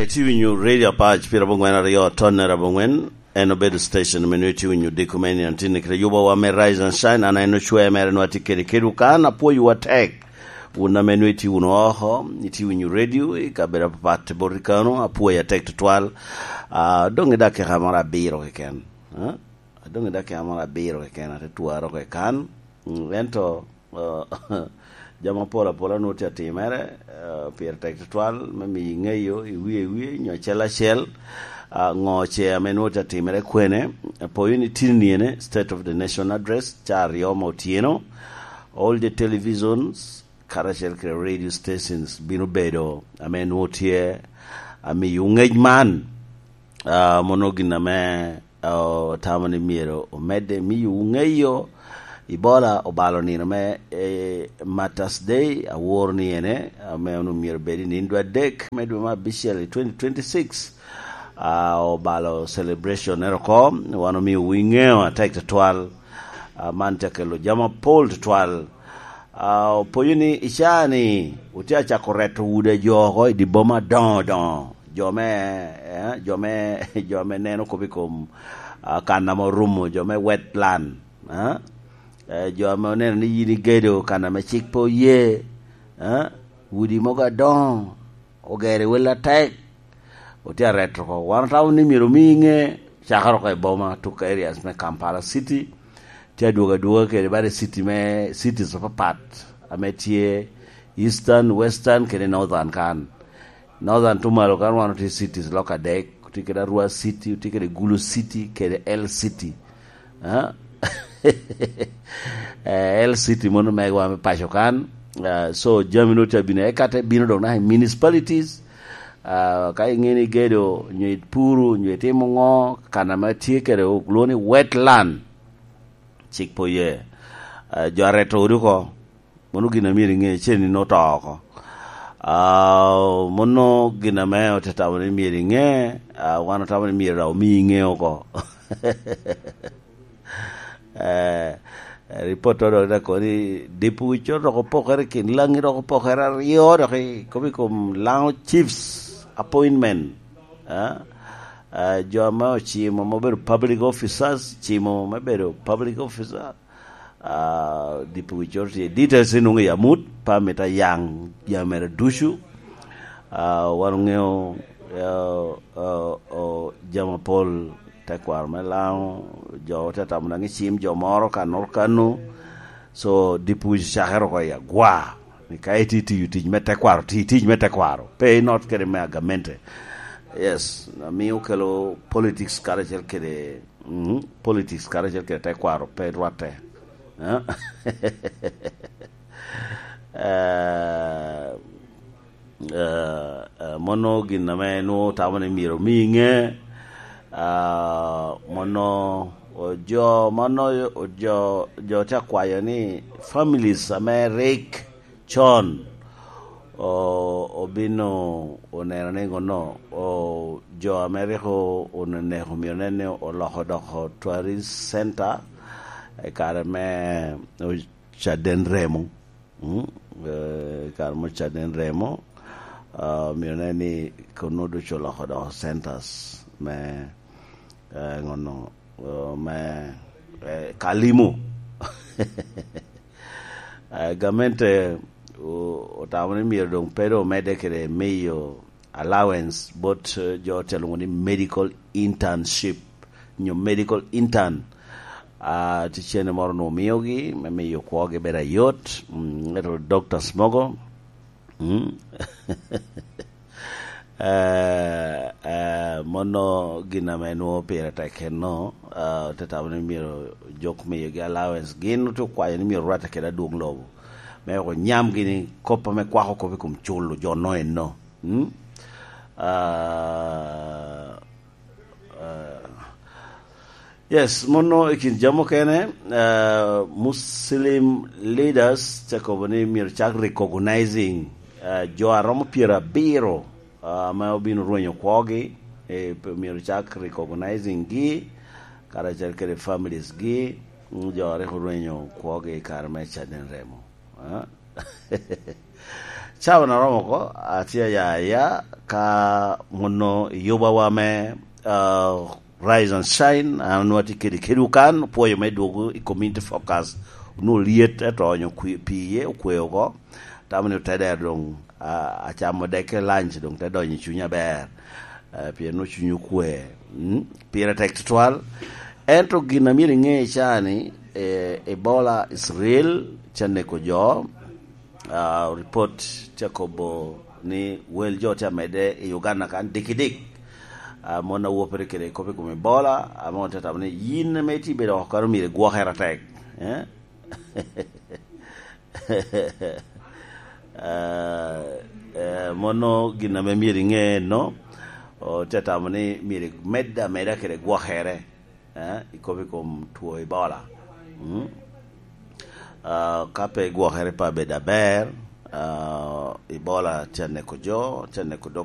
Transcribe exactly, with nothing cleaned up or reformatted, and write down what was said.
Itye winyo Radio Apac pira abongwen aryo, tonne abongwen. En obedo station me nwe itye winyo diko me niantini kede yubo wa me Rise and Shine. An en ocwe mere nwa tye kede kedwu kan, apwoyo wa tek. Wun ame nwe itye wunu oko, itye winyo radio i kabedo apapat bot i kano, apwoyo atek tutwal. Ah, dong i dakika moro abiro keken. Ah, dong i dakika moro abiro keken, ate twaro oko i kan. Mm, ento, ah, jami apol apola nwo tye atimere, ah, pire tek tutwal me miyo iŋeyo i wie i wie, nyo acel acel, ah, ŋo ce ame nwo tye atimere kwene. Apoyo ni tini ene, State of the Nation Address, ca aryo me otyeno, all the televisions, karacel kede radio stations bino bedo ame nwo tye amiyo ŋec man. Ah, mono gin ame, ah, otamo ni myero omedde miyo ŋeyo. Ebola obalo nino me, eh, Martyrs Day, awor ni ene, ame onwoŋo myero obed i nino dwe adek me dwe me abicel i twenty twenty-six. Ah, obalo celebration ero oko, wan omio wi ŋeo atek tutwal. Ah, man tye kelo jami apol tutwal. Ah, opoyo ni i caa ni otye acako reto udi a jo oko i dye boma adoŋo doŋo. Jo me, eh, jo me, jo me neno kop i kom, ah, kan ame orumo, jo me wetland, eh? Eh, jo ame oneno ni yin igedo kan ame cik pe oye, eh? Udi mogo adoŋo, ogero i wel atek, otye areto oko. Wan otamo ni myero omi ŋe cakere oko i boma, tuk areas me Kampala City, tye adwogo adwoga kede bade city me, cities apapat ame tye Eastern, Western kede Northern kan. Northern tumalo kan wan otye cities lok adek, otye kede Arua City, otye kede Gulu City, kede L City. Ah? Eh, L City mono megwa me paco kan. Ah, so jami no tye abino, eka te bino dok naka i municipalities. Ah, ka iŋeo ni igedo, nyo ipuro, nyo itimo ŋo, kan ame tye kede olwoŋo ni wetland, cik pe oye. Ah, jo areto odi oko, mono gin a myero iŋe, cen in oto oko. Ah, mono gin ame ote tamo ni myero iŋe, ah, wan otamo ni myero daŋ omi iŋe oko. Eh, ripot to dok daŋ kono ni dipo wi cot dok opokere i kin Langi, dok opokere aryo dok i kom, i kom Lango Chiefs appointment. Ah, ah, jo ame ocimo me bedo public officers, cimo me bedo public officer, ah, dipo wi cot tye. Details inwoŋo i amut, pe amito ayaŋ jami mere ducu. Ah, wan oŋeo, ah, ah, oh, jami apol, tekwaro me Lango, jo te tamo daŋ i cim jo moro ka noro kano. So, dipo wi cakere oko i agwa. Ni ka itye tiyo tic me tekwaro, ti tic me tekwaro. Pe inot kede me agamente. Yes, amiyo kelo politics karacel kede, mhm, politics karacel kede tekwaro, pe rwatte. Eh? Eh, eh, eh, mono gin ame nwoŋo tamo ni myero omi ŋe. Ah, mono, o jo, mono, o jo, jo te akwayo ni families ame rik con, o-, obino oneno ni ŋono, o, jo ame rik o-, oneko myero nen ni oloko doko tourist center i kare me, o, caden remo. Mm, eh, kare mo caden remo, ah, myero nen ni kono ducu oloko doko centers me, eh, ŋono, eh, me, eh, ka limo. Eh, gamente, o-, otamo ni myero doŋ pe doŋ omedde kede miyo allowance bot, eh, jo te lwoŋo ni medical internship, nyo medical intern. Ah, tye cene moro onwoŋo miogi me miyo kwogi bedo ayot, mm, ento doctors mogo, mm. Eh, eh, mono gin ame nwoŋo pire tek enno, ah, te tamo ni myero jok miyogi allowance, gin otye okwayo ni myero rwatte kede adwoŋ lobo, me weko nyamgi ni kop ame kwako kop i kom culo jo no enno. Mm? Ah, ah, yes, mono i kin jami okene, ah, Muslim leaders te kobo ni myero cak recognizing, ah, jo a romo pyerabiro, ah, ame obino rwenyo kwogi, eh, myero cak recognizing gi, karacel kede families gi, mm, jo a rik orwenyo kwogi i kare me caden remo. Ah? Cawa na romo oko, atye aya aya, ka mono i yubawa me, ah, Rise and Shine, an onwoŋo atye kede kedwu kan, opwoyo me dwogo i Community Focus. Onwoŋo lyet, ento oonyo kwi-, pi iye okwe oko. Tamo ni otedero doŋ, ah, acamo dekke lunch, doŋ te donyo i cunya aber. Eh, pien onwoŋo cuny okwe. Mm, pire tek tutwal. Ento gin a myero iŋe ca ni, eh, Ebola is real, tye aneko jo. Ah, report tye akobo ni wel jo tye amedde i Uganda kan dikidik. Ah, mon a wopere kede kop i kom Ebola, ame otye tamo ni yin ame itye bedo oko kano myero igwokere atek. Eh? Ah, eh, mono gin ame myero iŋe no, otye tamo ni myero imedde ameda kede gwokere, eh, i kop i kom two Ebola. Mm. Ah, ka pe igwokere pe abedo aber, ah, Ebola tye aneko jo, tye aneko dog